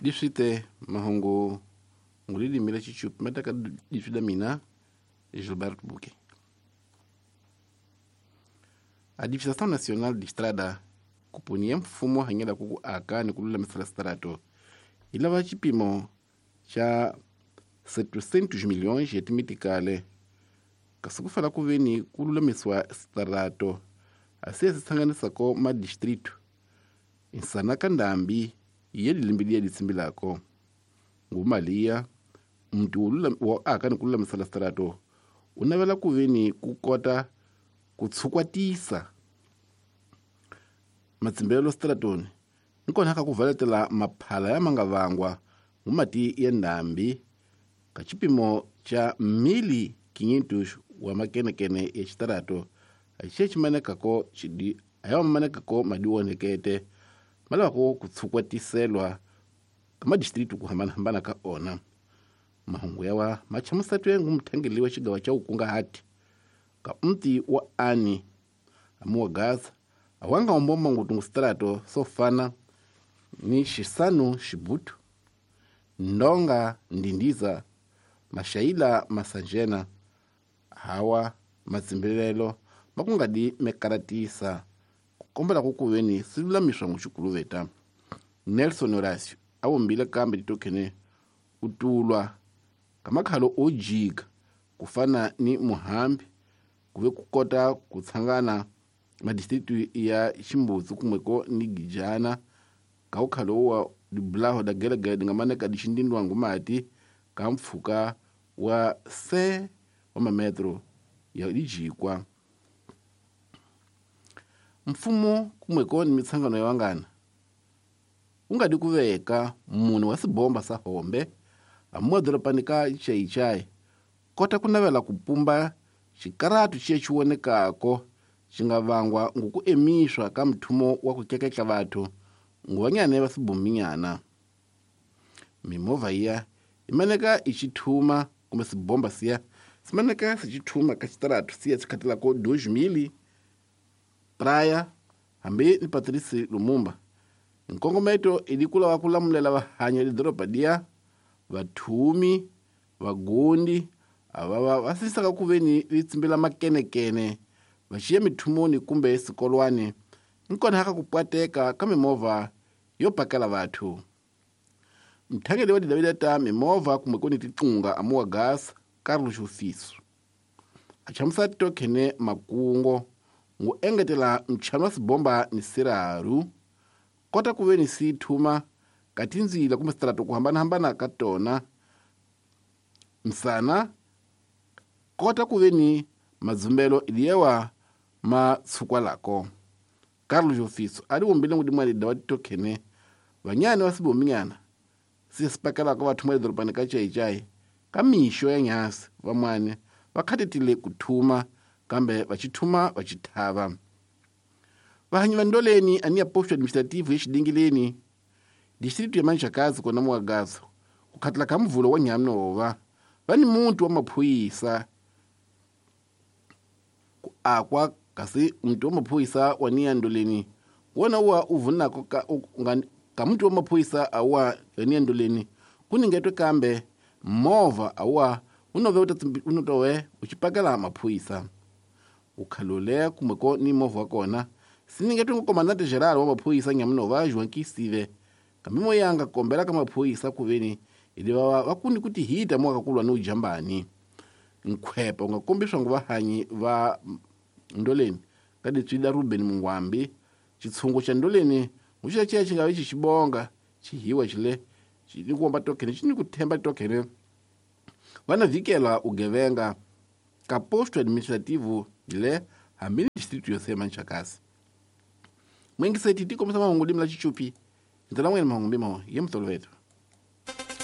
Diswite mahungu ngulilimi la chichupi mataka diswi da mina Gilberto Buque. A Administração Nacional de Estrada kupunia mfumo hanyela kuku aka ni kululamisela strato ilava chipimo cha 700 milhões ya timitikale kasi kufala kuveni kululamiswa strato asiye sitsanganisako madistrito insana ka ndambi ye lilimbi liye litsimbilako ngumaliya mntu wa aka ni kululamisela strato unavela kuveni kukota kutshukwatisa matsimbelo stratoni nikona ka kuvaletela maphala ya mangavangwa ngumati ya ndambi ka chipimo cha mili 500 wa makenekene ya chitarato axiye chimanekako chidi ayamanekako madiwonekete malawako kutsukwatiselwa ka madistritu kuhambanahambana ka ona mahungu yawa machamusatwe ngumthangeli wa xigawa cha ukungahati ka mti wa ani amuwa gaza awanga umbomba ngutungu strato sofana ni xisanu xibutu ndonga ndindiza mashaila masanjena hawa matsimbelelo makungadi mekaratisa kukombela kukuveni silulamiswa nguxikuluveta Nelson Horacio awumbile kambe titokhene utulwa kamakhalo ojika kufana ni muhambi kuve kukota kutsangana madistritu ya Ximbudzi kumweko ni Gijana kaukhalo wa dibulaho da gelegele dingamaneka dixindindwa ngumati ka mpfhuka wa se wa mametro ya dijikwa mfumo kumweko ni mitsangano ya wangana ungadi kuveka munhu wa sibomba sa hombe amuwa doropani ka Chaichai kota kunavela kupumba xikaratu xiye xiwonekako xingavangwa ngukuemiswa ka mthumo wa kukeketla vathu nguvanyane va sibominyana mimovha iya imaneka ixithuma kumbe sibomba siya simaneka sixithuma ka xitaratu siya xikhatilako 2000 Praia hambi ni Patrice Lumumba nkongometo ilikula wa kulamulela vahanya lidoropa dia vathumi vagundi avava vasisaka kuveni vitsimbila makenekene vaxiya mithumoni kumbe esikolwani nkona haka kupwateka ka mimovha yo pakela vathu mthangeli wa didavida ta mimovha kumwe kuni tiqunga amuwa gas Carlos Ofiso achamusa tokhene makungo ngu engetela mchano wa sibomba ni siraru kota kuveni sithuma katinzila kumbe sitrato kuhambanahambana ka tona msana kota kuveni madzumbelo iliyewa matsukwalako Carlos Ofiso ali wumbile ngudimwali dawa titokhene vanyane wa sibominyana sisipakelako vathu mwa lidorobani ka Chaichai ka mixo ya nyasi vamwane va khatetile kuthuma kambe vachithuma vachithava vahanyi va ndoleni ani ya posto administrativo ya distrito ya Manjakazi kona muwagazo kukhatila ka mvulo wa nyamnova va ni muntu wa maphuyisa ku akwa kasi muntu wa maphuyisa wa niya ndoleni wona wa uvunako ka muntu wa maphuyisa awa niya ndoleni kuningetwe kambe movha awa unove unotowe uchipakela maphuyisa ukhalole kumweko ni movha wa kona siningetwe ngukomandante geral wa maphuyisa nyamunova João kambe moyanga kombela ka maphuyisa kuveni ili vava vakuni kuti hita mwakakulwa ni ujambani nkhwepa ungakombiswa ngu vahanyi va ndoleni ka ditswida Ruben Mungwambi chitshungu xa ndoleni nguxiya xiya xi nga vi xixibonga xihiwa xile xi kuomba tokhene xi ni ku themba tokhene va na vikela ugevenga ka posto administrativo le hambi ni distrito yo sema Nchakasi mwengiseti tikombisa mahungu limi la chichupi ndlela n'wini mahungu mbimo ye mutoloveto.